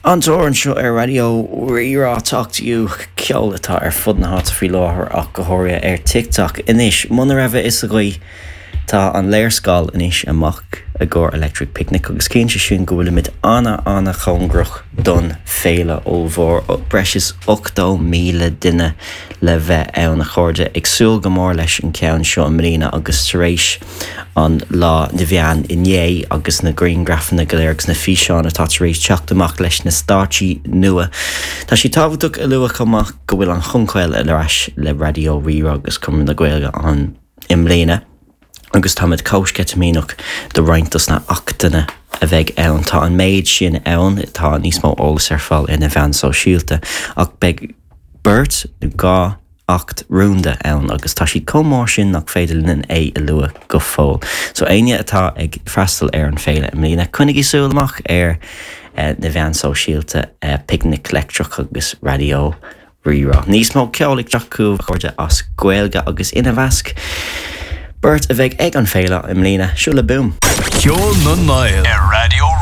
An tóir anseo ar Raidió Rí-Rá Talk to You, ceol atá ar fud na háite faoi láthair ach go háirithe ar TikTok. Anois, muna raibh a fhios agaibh, tá an léarscáil anois amach i gcomhair Electric Picnic agus ciallaíonn sé sin go bhfuilimid ana-ana-chóngarach don féile ollmhór, breis is 80,000 duine le bheith ann, a chairde. Ag súil go mór leis an ceann seo i mbliana agus tar éis an Lá na Meán inné agus na grianghrafanna go léir agus na físeáin atá tar éis teacht amach leis na stáitsí nua. Tá sé tábhachtach a lua chomh maith go bhfuil an Chonchaill ar ais le Raidió Rí-Rá agus Conradh na Gaeilge ann i mbliana agus táimid chomh sceitimíneach do roinnt dos na achtanna a bheidh ann. Tá an méid sin ann, tá níos mó eolas ar fáil ar na mheáin sóisialta ach beidh beirt nó 2 acht rúnda ann agus tá siad chomh mór sin nach féidir linn é a lua go fóill. So éinne atá ag freastal ar an féile i mbliana, coinnigí súil amach ar na mheáin sóisialta Picnic Leictreach agus Raidió Rí-Rá. Níos mó ceoil ag teacht chugaibh a chairde as Gaeilge agus ina mheasc beirt a bheidh ag an féile i mbliana, seo le Boom. Ceol na nGael ar Raidió Rí-Rá.